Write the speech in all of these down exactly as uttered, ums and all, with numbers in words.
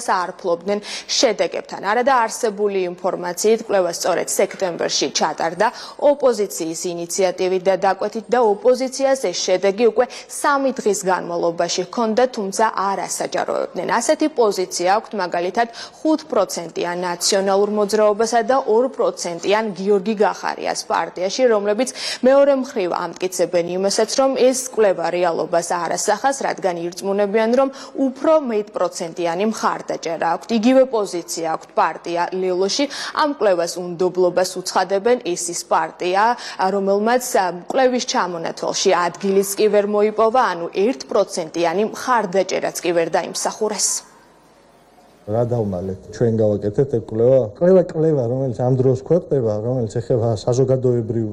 საარფლობდნენ შედეგებთან. არადა არსებული ინფორმაციით კვლევა სწორედ სექტემბერში ჩატარდა ოპოზიციის ინიციატივით და დაკვეთით და ოპოზიციას ეს შედეგი უკვე სამი დღის განმავლობაში ჰქონდა, თუმცა არ ასაჯაროებდნენ. ასეთი პოზიცია აქვთ მაგალითად ხუთ პროცენტიან ნაციონალურ მოძრაობასა და ორ პროცენტიან გიორგი გახარიას პარტიაში, რომლებიც მეორე მხრივ ამტკიცებენ იმასაც, რომ ეს კვლევა რეალობას არ ასახავს, რადგან ირწმუნებიან, რომ უფრო მეტპროცენტიანი მხარდაჭერა აქვთ. იგივე პოზიცია აქვთ პარტია ლელოში. ამ კვლევას უნდობლობას უცხადებენ, ეს ის პარტია, რომელმაც კვლევის ჩამონათვალში ადგილიც კი ვერ მოიპოვა, ანუ ერთ პროცენტიანი მხარდაჭერაც კი ვერ დაიმსახურეს. რა დავმალეთ? ჩვენ გავაკეთეთ ეს კვლევა. კვლევა კვლევა, რომელიც ამ დროს ქვეყნდება, რომელიც ეხება საზოგადოებრივ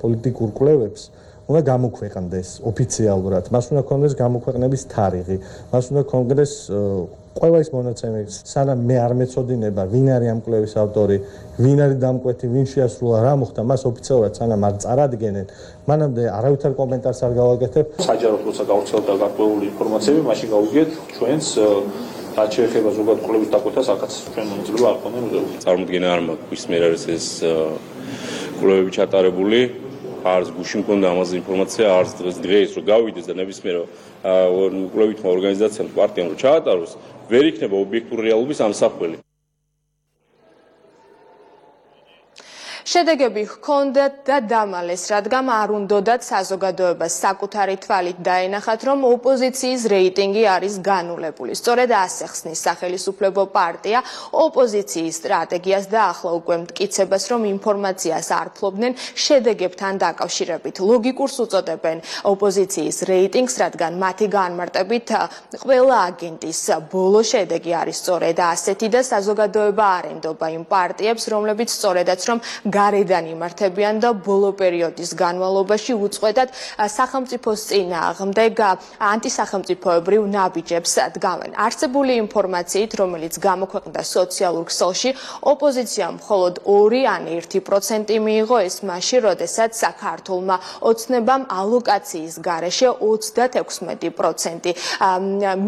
პოლიტიკურ კვლევებს, უნდა გამოქვეყნდეს ოფიციალურად. მას უნდა ქონდეს გამოქვეყნების თარიღი. მას უნდა ქონდეს ყველა ის მონაცემები, სანამ მე არ მეწოდინება, ვინ არის ამ კვლევის ავტორი, ვინ არის დამკვეთი, ვინ შეასრულა, რა მოხდა, მას ოფიციალურად სანამ არ წარადგენენ, მანამდე არავითარ კომენტარს არ გავაკეთებ. საჯაროდ როცა გავრცელდა გარკვეული ინფორმაციები, მაშინ გავუგეთ ჩვენს რაც შეეხება ზოგადად კვლევის დაკვეთას, აქაც ჩვენ მონაწილეობა არ ქონდა მიღებული. წარმოდგენა არ მაქვს, ვის მიერ არის ეს კვლევები ჩატარებული. არც გუში მქონდა ამაზე ინფორმაცია, არც დღეს რომ გავიდეს და ნებისმიერ კვლევითმა ორგანიზაციამ პარტიამ რომ ჩაატაროს, ვერ იქნება ობიექტური რეალობის ამსახველი. შედეგები ჰქონდათ და დამალეს, რადგან არ უნდოდათ საზოგადოებას საკუთარი თვალით დაენახათ, რომ ოპოზიციის რეიტინგი არის განულებული. სწორედ ასე ხსნის სახელისუფლებო პარტია ოპოზიციის სტრატეგიას და ახლა უკვე მტკიცებას, რომ ინფორმაციას არ ფლობდნენ შედეგებთან დაკავშირებით. ლოგიკურს უწოდებენ ოპოზიციის რეიტინგს, რადგან მათი განმარტებით ყველა აგენტის ბოლო შედეგი არის სწორედ ასეთი და საზოგადოება არ ენდობა იმ პარტიებს, რომლებიც სწორედაც რომ გარედან იმართებიან და ბოლო პერიოდის განმავლობაში უწყვეტად სახელმწიფოს წინააღმდეგ ანტისახელმწიფოებრივ ნაბიჯებს დგამენ. არსებული ინფორმაციით, რომელიც გამოქვეყნდა სოციალურ ქსელში, ოპოზიციამ მხოლოდ ორი ან ერთი პროცენტი მიიღო, ეს მაშინ, როდესაც საქართველმა ოცნებამ ალოკაციის გარეშე ოცდათექვსმეტი პროცენტი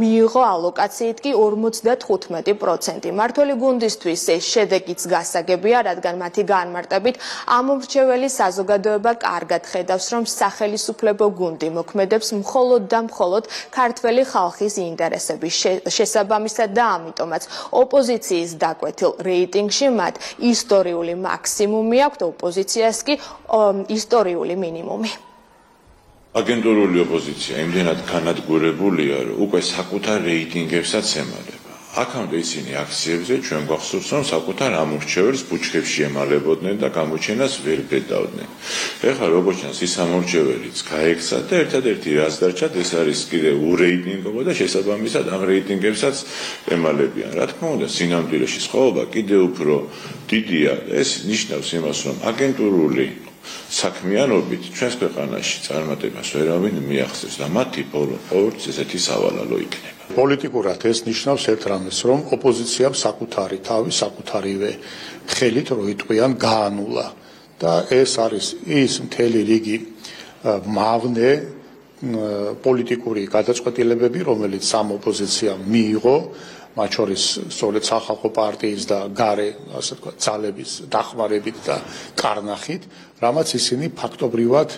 მიიღო, ალოკაციით კი ორმოცდათხუთმეტი პროცენტი. მმართველი გუნდისთვის ეს შედეგიც გასაგებია, რადგან მათი განმარტებით ამომრჩეველი საზოგადოება კარგად ხედავს, რომ სახელისუფლებო გუნდი მოქმედებს მხოლოდ და მხოლოდ ქართველი ხალხის ინტერესების შესაბამისად და ამიტომაც ოპოზიციის დაკვეთილ რეიტინგში მათ ისტორიული მაქსიმუმი აქვთ, ოპოზიციას კი ისტორიული მინიმუმი. აგენტურული ოპოზიცია იმდენად განადგურებულია, რომ უკვე საკუთარ რეიტინგებსაც ემალება. აქამდე ისინი აქციებზე ჩვენ გვახსოვს, რომ საკუთარ ამორჩეველს ბუჩქებში ემალებოდნენ და გამოჩენას ვერ ბედავდნენ. ეხლა როგორც ჩანს, ის ამორჩეველიც გაექცა და ერთადერთი რაც დარჩათ, ეს არის კიდევ ურეიტინგობა და შესაბამისად ამ რეიტინგებსაც ემალებიან. რა თქმა უნდა, სინამდვილეში სხვაობა კიდევ უფრო დიდია. ეს ნიშნავს იმას, რომ აგენტურული საქმიანობით ჩვენს ქვეყანაში წარმატებას ვერავინ მიაღწევს და მათი ბოლო ყოველთვის ესეთი სავალალო იქნება. პოლიტიკურად ეს ნიშნავს ერთ რამეს, რომ ოპოზიციამ საკუთარი თავი, საკუთარივე ხელით რო იტყვიან გაანულა და ეს არის ის მთელი რიგი მავნე პოლიტიკური გადაწყვეტილებები, რომელიც სამ ოპოზიციამ მიიღო, მათ შორის სწორედ სახალხო პარტიის და გარე, ასე ვთქვათ, ძალების დახმარებით და კარნახით, რამაც ისინი ფაქტობრივად,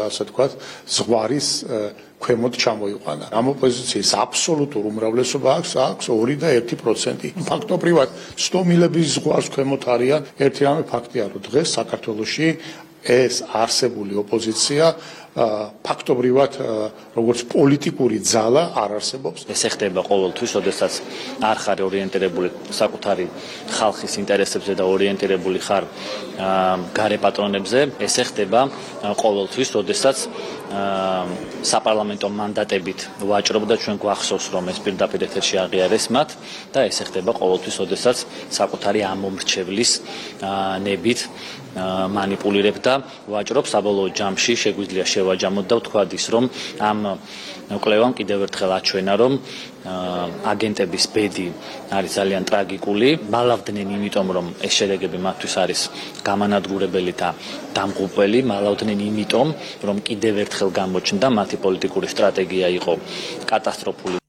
ასე ვთქვათ, ზღვარის ქვემოთ ჩამოიყვანა. ამ ოპოზიციის აბსოლუტურ უმრავლესობა აქვს, აქვს ორი და ერთი პროცენტი. ფაქტობრივად სტომილების ზღვარს ქვემოთ არიან. ერთი რამე ფაქტია, რომ დღეს საქართველოში ეს არსებული ოპოზიცია ფაქტობრივად როგორც პოლიტიკური ძალა არ არსებობს. ეს ხდება ყოველთვის, როდესაც არ ხარ ორიენტირებული საკუთარი ხალხის ინტერესებზე და ორიენტირებული ხარ გარე პატრონებზე, ეს ხდება ყოველთვის, როდესაც საპარლამენტო მანდატებით ვაჭრობ და ჩვენ გვახსოვს, რომ ეს პირდაპირ ეთერში აღიარეს მათ და ეს ხდება ყოველთვის, როდესაც საკუთარი ამომრჩევლის ნებით მანიპულირებ და ვაჭრობ. საბოლოო ჯამში შეგვიძლია შევაჯამოთ და ვთქვათ ის, რომ ამ კვლევამ კიდევ ერთხელ აჩვენა, რომ აგენტების ბედი არის ძალიან ტრაგიკული. მალავდნენ იმიტომ, რომ ეს შედეგები მათთვის არის გამანადგურებელი და დამღუპველი, მალავდნენ იმიტომ, რომ კიდევ ერთხელ გამოჩნდა მათი პოლიტიკური სტრატეგია იყო კატასტროფული.